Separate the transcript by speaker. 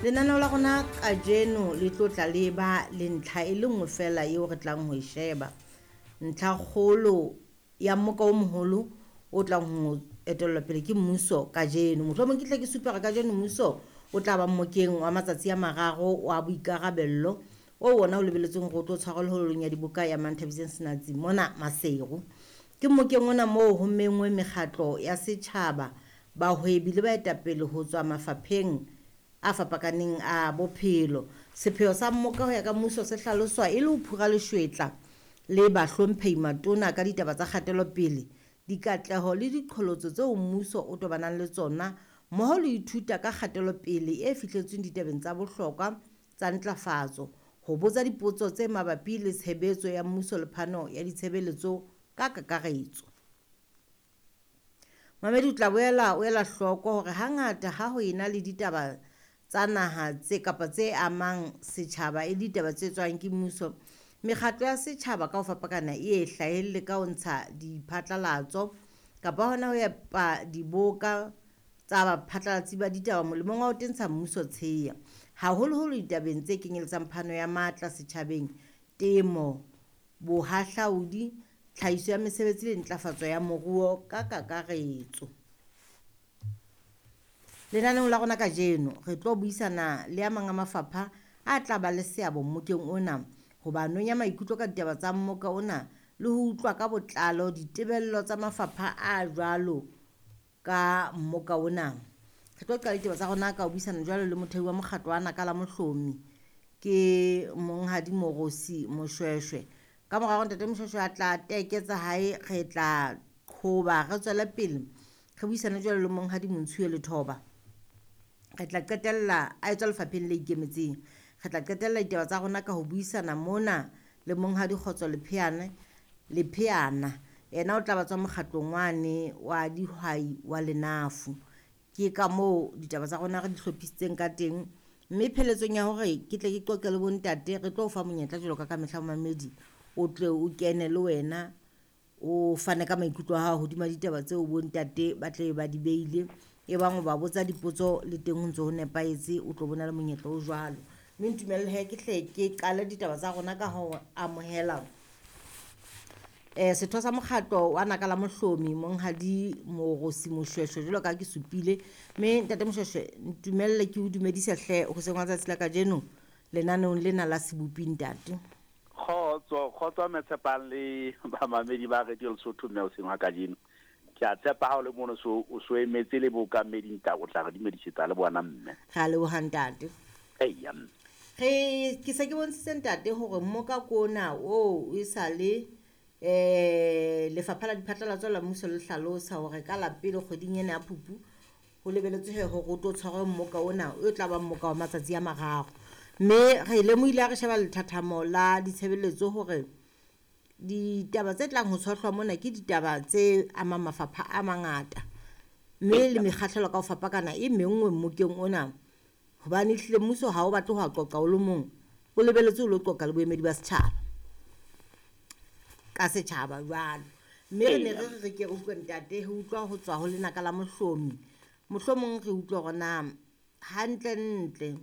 Speaker 1: Lenaneo la rona kajeno le tlo tla le ba le ntlha e le nngwe feela eo re tlang ho e sheba. Ntlhakgolo ya mmoka o moholo o tlang ho etellwa pele ke mmuso kajeno. Mohlomong ke tle ke supe hore kajeno mmuso o tla ba mmokeng wa matsatsi a mararo wa boikarabello o wona o lebeletsweng hore o tlo tshwarelwa holong ya diboka ya Manthabiseng Senatsi mona Maseru. Ke mmokeng ona moo ho menngwe mekgatlo ya setjhaba, bahwebi le baetapele ho tswa mafapheng a fapakaneng a bophelo. Sepheo sa mmoka ho ya ka mmuso se hlaloswa e le ho phura leshwetla le bahlomphehi matona ka ditaba tsa kgatelopele, dikatleho le diqholotso tseo mmuso o tobanang le tsona mmoho le ho ithuta ka kgatelopele e fihletsweng ditabeng tsa bohlokwa tsa ntlafatso, ho botsa dipotso tse mabapi le tshebetso ya mmuso le phano ya ditshebeletso ka kakaretso. Mamedi o tla boela o ela hloko hore hangata ha ho ena le ditaba tsa naha tse kapa tse amang setjhaba e le ditaba tse tswang ke mmuso, mekgatlo ya setjhaba ka ho fapakana e e hlahelle ka ho ntsha diphatlalatso kapa hona ho epa diboka tsa baphatlalatsi ba ditaba molemong wa ho tentsha mmuso tsheya, haholoholo ditabeng tse kenyeletsang phano ya matla setjhabeng, temo, bohahlaudi, tlhahiso ya mesebetsi le ntlafatso ya moruo ka kakaretso. Lenaneong la rona kajeno re tlo buisana le a mang a mafapha a tla ba le seabo mmokeng ona, ho ba nonya maikutlo ka ditaba tsa mmoka ona le ho utlwa ka botlalo ditebello tsa mafapha a jwalo ka mmoka ona. Re tlo qala ditaba tsa rona ka ho buisana jwalo le mothehi wa mokgatlo wa Naka la Mohlomi, ke Monghadi Morosi Moshweshwe. Ka mora hore Ntate Moshweshwe a tla teke tsa hae, re tla qhoba re tswele pele re buisane jwalo le Monghadi Montshiwe Lethoba. Re tla qetella a etswa lefapheng le ikemetseng. Re tla qetella ditaba tsa rona ka ho buisana mona le Monghadi Kgotso Lepheana. Lepheana yena o tla ba tswa mokgatlong wane wa dihwai wa Lenafu. Ke ka moo ditaba tsa rona re di hlophisitseng ka teng, mme pheletsong ya hore ke tle ke qoqe le bontate, re tlo o fa monyetla jwalo ka kamehla momamedi, o tle o kene le wena o fane ka maikutlo a hao hodima ditaba tseo bontate ba tle ba di beile. E bang o ba botsa dipotso le teng ho ntso ho nepahetse, o tlo bona le monyetla o jwalo. Mme ntumelle he ke hle ke qale ditaba tsa rona ka ho amohela setho sa mokgatlo wa Naka la Mohlomi, Monghadi Morosi Moshweshwe, jwalo ka ke supile. Mme Ntate Moshweshwe, ntumelle ke o dumedise hle hoseng wa tsatsi la kajeno lenaneong lena la Sebopi ntate.
Speaker 2: Kgotso, kgotso mme Tshepang le bamamedi ba Radio Lesotho mme hoseng wa kajeno. Ke a tshepa ha o le mono so o so emetse le bookamedi ntate, o tla re dumedisetsa le bona mme.
Speaker 1: Re a leboha ntate.
Speaker 2: Eya mme.
Speaker 1: Re ke se ke bontshitse ntate hore mmoka kona o e sa le lefapha la diphatlalatso la mmuso le hlalosa hore ka la pele kgweding ena ya Phupu ho lebeletswe he hore o tlo tshwarwe mmoka ona o tla ba mmoka wa matsatsi a mararo. Mme re lemohile ha re sheba lethathamo la ditshebeletso hore ditaba tse tlang ho tshohlwa mona ke ditaba tse amang mafapha a mangata, mme le mekgahlelo ka ho fapakana e menngwe mmokeng ona, hobane ehlile mmuso ha o batle ho a qoqa o le mong, o lebeletse o lo qoqa le boemedi ba setjhaba ka setjhaba jwalo. Mme re ne re re ke re utlwe ntate, re utlwa ho tswa ho Lenaka la Mohlomi, mohlomong re utlwe hore na hantlentle